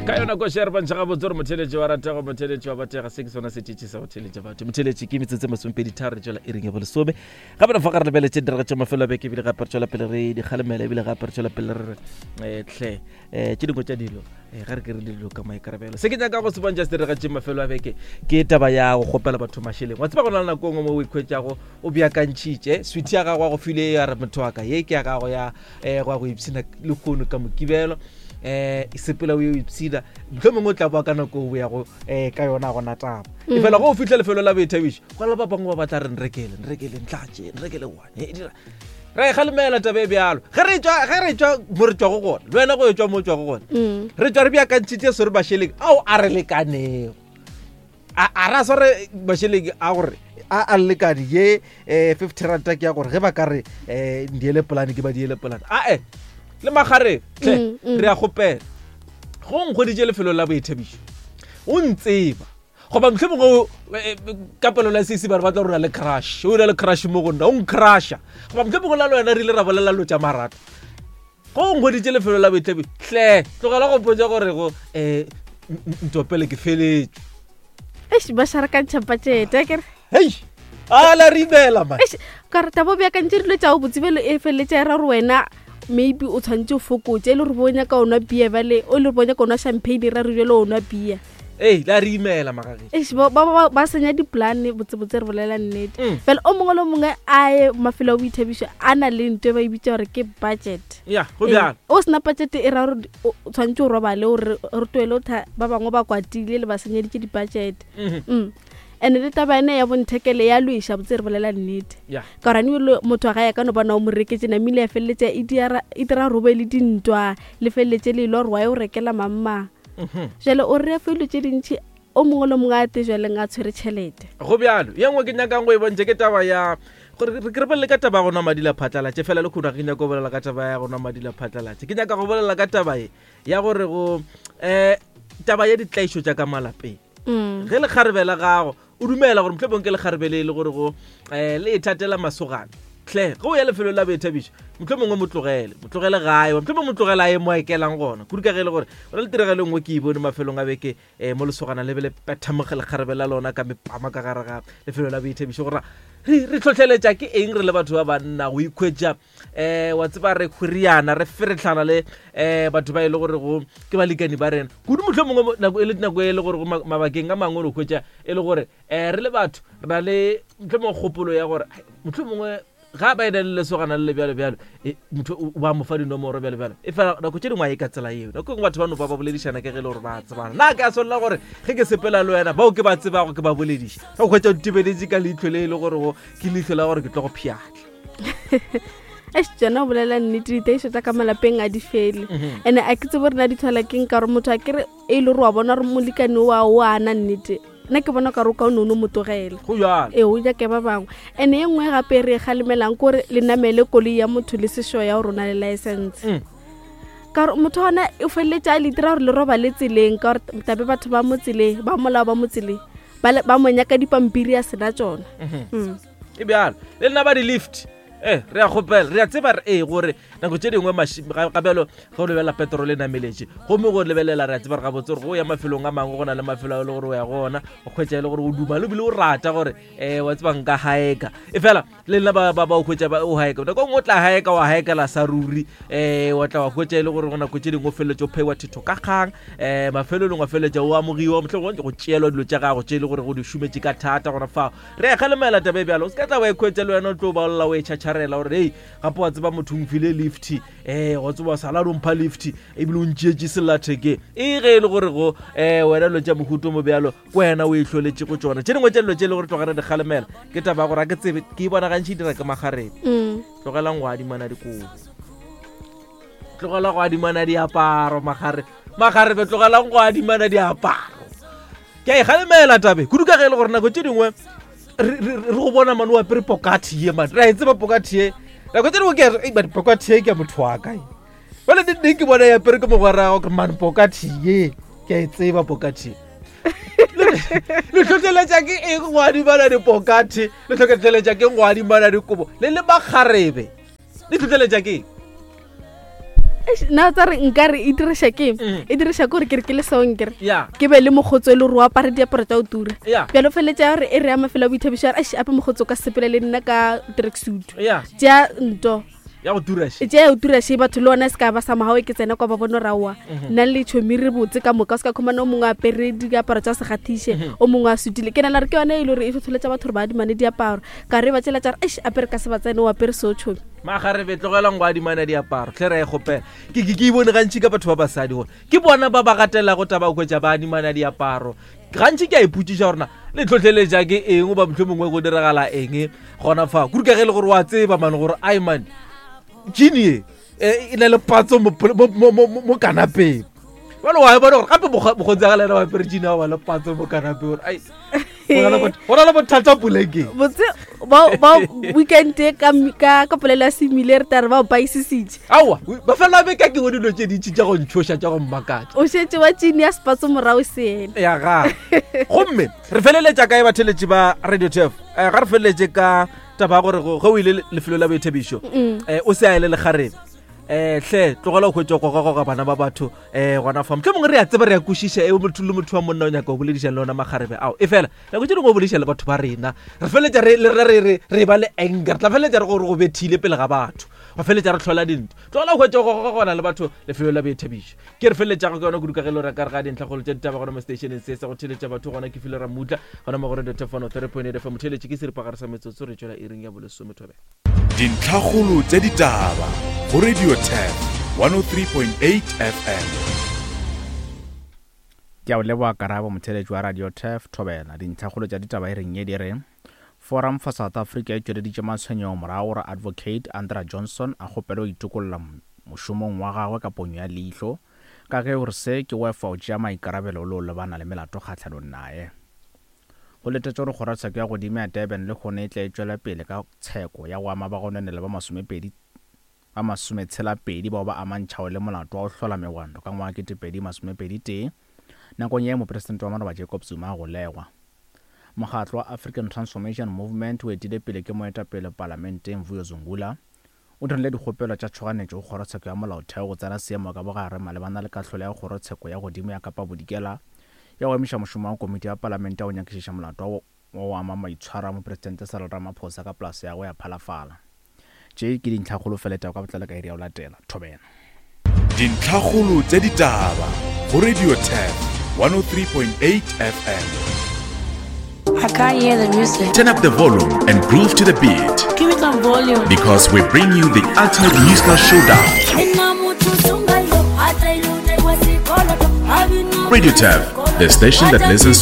Ka yona koša re bontšha gabotse gore motheletši wa ratego, motheletši wa batega. Se ke sona setšitši sa go theletša batho. Motheletši ke metsotso e masompedi tharo re tšwela iring ya bolesome. Gape re fa ga re lebeletše diraga tša mafelo a beke, ebile gape re tšwela pele re di kgalemela, ebile gape re tšwela pele re re eh, hle um tše dingwe tša dilo eh, ga re ke re dilo ka maikarabelo. Se ke nyaka go se bontšha se diraga tše mafelo a beke ke taba ya go kgopela batho mašeleng. Wa tseba go na le nako e nngwe mo o ikhwetšago o beakantšhitše sweet ya gago, wa go file ya re motho wa ka ye ke ya gago ya um go ya go ipshina lehono ka Mokibelo, um sepela o ye o ipshina, mohlho mongwe o tla boa ka nako o yago um ka yona gona taba. E fela go o fitlha lefelo la boithabišo, go na le ba bangwe ba batla re nrekele, nrekele ntlatše, nrekele one e dira re e galemela taba e bjalo. Ge re tswa, ge re tswa mo re tswago gona, le wena go e tswa mo o tswago gona, re tswa re beakantšhitše sore mašeleng ao a re lekanego, a ra sware mašeleng a gore a a lekane ye um 50 ranta ke ya gore ge ba ka re um ndiele polane ke ba diele polane ae le magare tle. Re a kgopela go nkgweditše lefelo la boithabišo o ntseba goba motlho mongwe ka pelo la sese ba re batla gore o na le crush, o na le crush mo go nna, o ncrusha, goba motlho mongwe la le wena re ile ra bolela lo tša marato, go nkgweditše lefelo la boithabišo, hle tlogela go mpotša gore go um ntopele ke feletšwe. Eish, ba šarakantšha budget akere. Hei, a la re imela man. Eish, ka re tabo beakantše dilo tša go botsebelo e feleletša e ra gore wena maybe o tshwanetse o fokotse e le gore bo nyaka o nwa beer bale o le gore bo nyaka o nwa champagne ra re jale o nwa beer. Ei, la re imela magagešo. Eish, ba senya dipolane botsebotse re bolela nnete. Fela o mongwe le o mongwe a ye mafelo a boithabišo a na le ntho e ba e bitša gore ke budget. Ya go bjalo. O sena budget e ra gore o tshwanetse o robale o re toele o tha ba bangwe ba kwatile le ba senyeditše di-budget. And le taba ene ya bonthekele ya lweša botse re bolela nnete. Ka gore ane motho ga ya ka no bona o mo reketse namile ya feleletša e e dira robe le dintwa le feleletše le ile gore wa e o rekela mamma. Jale o re fa dilo tše dintšhi o mongwe le mongwe a te jwaleng a tshwere tšhelete. Go bjalo. Ye nngwe ke nyakang go e bontšha ke taba ya gore re ke re bolele ka taba ya go nwa madi la phatlalatše. Fela le khuno ga ke nyaka go bolela ka taba ya go nwa madi la phatlalatše, ke nyaka go bolela ka taba ye ya gore go um taba ya ditlaišo tša ka malapeng. Ge lekgarebe la gago o dumela gore mohlomong ke lekgarebe le e le gore go um le ithatela masogana, hle ge o ya lefelong la boithabišo mohlomongwe mo tlogele, mo tlogele gae, mohlomongwe mo tlogele a ye mo a ekelang gona. Kudu ka ge e le gore go na le tiragalo e nngwe ke e bone mafelong a beke um mo lesogana le be le petha lekgarebe la lona ka mepama ka gare ga lefelo la boithabišo. Gore re tlhotlheletša ke eng re le batho ba banna go ikhwetša um wa tseba re khwiriana re feretlhana le um batho ba e le gore go ke balekani ba rena kudu, mohlho mongwe nako e le nako e le gore go mabakeng a mangwe re hwetša e le gore um re le batho re na le mohlho mongwe kgopolo ya gore mohlho mongwe ga ba ena le lesogana le le bjalo bjalo, motho o ba mo fa dinomoro bjalo bjalo, e fela nako tše dingwe a e ka tsela eo. Nako e nngwe batho ba no ba ba boledišana ke ge e le gore ba tsebana. Na ke a swanela gore ge ke sepela le wena bao ke ba tsebago ke ba bolediše, ge o hwetša o ntebeletše ka leihlo le e le gore go ke leihlo la gore ke tlo go pšhatla? Eish, tsona o bolela nnete, ditaišo tša ka malapeng a di fele. And a ke tsebo rena di tlhola keng, ka gore motho a kere e le gore wa bona gore molekane wa o ana nnete, nna ke bona kare o ka o ne o no mo tlogela. Go bjalo. Ee, o nyake ba bangwe. And e nngwe gape re e kgalemelang ke gore le namele koloi ya motho le sešo ya gore o na le license. Ka gore motho ona o feleletše a le dira gore le robale tseleng, ka gore tabe batho ba mo tseleng ba molao ba mo tseleng ba mo nyaka dipampiri a sena tsona. E bjalo le lena ba di-lift, e re a kgopela, re a tseba re ee gore nako tše dingwe ga bjalo ge o lebelela petrol e nameletše, gomme go lebelela re a tseba re gabotse gore go ya mafelong a mangwe go na le mafelo a e le gore o ya go ona o kgwetša e le gore o duma le bile o rata gore um wa tseba nka haeka, e fela le nna ba o hwetša o haeka nako nngwe o tla haeka wa haekela sa ruri, um wa tla wa hwetša e le gore go nako tše dingwe o feleletše o pheiwa thetho ka kgang, um mafelelong wa feleletša o amogiwa mohlomongwe go tšeelwa dilo tša gago tše e le gore go di šometše ka thata gona fao. Re a kgalemela taba e bjalo, o se ka tla wa ikhwetša le wena o tlo ba olla o e tšhatšharela gore hei gape wa tseba motho o mfile lift, um wa tseba sala o mpha lift ebile o ntšeetše sellathekeng e ge e le gore go um wena dilo tša mohuto mo bjalo ke wena o e hloletše go tšona. Tše dingwe tša dilo tše e le gore tloga re di kgalemela ke taba ya gore a ke tsebe ke e bona gantši e dira ke magarebe. Tlogelang go adimana dikobo, tlogela go adimana diaparo, magare magarebe tlogelang go adimana diaparo. Ke a e galemela tabe kudu ka ge e le gore nako tše dingwe re go bona mane o apere pokathi ye mane, re a e tseba pokathi ye, nako tše dingwe ke re man pokathi ye ke ya motho wa kae, bale neng ke bona e apere ke mogwera wa gore man pokathi ye ke a e tseba pokathi ye. Le tlhotlheletša ke eng go adimana dipokathe, le tlhotlheletša ke go adimana dikobo le le makgarebe, le tlhotlheletša ke eng? Nna tsa re nka re e diriša ke mm. e diriša ke gore ke re ke le song kere ke be le mokgotso e le gore o apare diaparo tsa go tura. Bjalo feletša gore e re ya mafelo a boithabišo a re ape mokgotso o ka sepele le nna ka tracksuit. Tšea nto. Ya go tura še. Tšea ya go tura še batho le ona se ka ba sa mogao ke tsena kwa ba bone gore aowa. Mhm. Nna le tšhomi re botse ka moka o se ka khumana o mongwe a apere diaparo tsa segathiše mhm. o mongwe a sutile. Ke nagana gore ke yone e le gore e tlhotlheletša batho gore ba adimane diaparo. Ka re ba tšela tša re eish apere ka se ba tsene o apere seo tšhomi. Magarebe tlogelang go adimana diaparo tlhe re e kgopela. Ke ke ke e bone gantši ka batho ba basadi gore ke bona ba ba gatelago taba go hwetša ba adimana diaparo. Gantši ke a ipotšiša gore na le tlhotlheletša ke eng goba mohlomongwe go diragala eng gona fa. Kudu ka ge e le gore wa tseba mane gore ai man jean ye e na le patso mo kanapeng. Jwale wa e bona gore gape mokgotsi wa ga le yena wa apere jean ya go ba le patso mo kanapeng gore ai go na le bothata polekeng. Botse ba weekend e ka polelo ya semile re tare ba o paisisitše. Aowa, mafelo a beke a ke bone dilo tše dintši tša go ntšhoša tša go mmakatša. O šetše wa tšini ya sepatso morago se ena. Ya ga. Gomme re feleletša kae batheletši ba Radio Turf? Eh, ga re feleletše ka taba ya gore ge o ile lefelo la boithabišo, eh, o se a ele lekgarebe. Eh, hle tlogela go hwetša goga-goga bana ba batho eh gona fa. Mohlomongwe re a tseba re a kwešiša e motho le motho wa monna o nyaka go boledišana le ona makgarebe ao. E fela nako tše dingwe o bolediša le batho ba rena re feleletša re le re re re ba le anger, re tla feleletša re gore go bethile pele ga batho, ba feleletša re hlola dintwa. Tlogela go hwetša goga-gogana le batho lefelo la boithabišo. Ke re feleletšago ka yona kudu ka ge le gore ka re ga dintlhakgolo tša ditaba gona mo stationeng se sa go theletša batho gona ke file Ramutla gona mo go Radio Turf 103.8 FM. Motheletši ke seripagare sa metsotso re tšwela iring ya bolesome thobela. Dintlhakgolo tša ditaba go Radio Turf 103.8 FM. Ke a o leboga Karabo, motheeletši wa Radio Turf, Thobela. Dintlhakgolo tša ditaba e reng ye di re, Forum for South Africa e tšweleditše matshwenyego morago gore Advocate Andra Johnson a kgopele go itokolla mošomong wa gagwe ka ponyo ya leihlo ka ge o re se ke go efa go tšea maikarabelo le go lebana le melato kgahlanong naye. Go letetšwe gore kgorotsheko ya godimo ya Durban lehono e tle e tšwele pele ka tsheko ya go ama bagononelwa ba masomepedi ba masometshela-pedi bao ba amantšhago le molato wa go hlola megwanto ka ngwaga 2021 nakong ye Mopresidente wa maloba Jacob Zuma a golegwa. Mokgatlo wa African Transformation Movement o etile pele ke moetapele palamenteng Vuyo Zungula o dirile dikgopelo tša tšhoganetšo go Kgorotsheko ya Molaotheo go tsena seemo ka bogare malebana le kahlolo ya Kgorotsheko ya Godimo ya Kapa Bodikela ya go emiša mošomo wa Komiti ya Palamente ya go nyakišiša molato wa go ama maitshwaro a Mopresidente Cyril Ramaphosa ka polase ya gagwe ya Phalafala. Tše ke dintlhakgolo fela tša ka botlalo ka iri ya go latela. Thobela. Dintlhakgolo tša ditaba go Radio Turf 103.8 FM. I can't hear the music. Turn up the volume and groove to the beat. Give me some volume. Because we bring you the ultimate musical showdown. Radio Turf, the station that listens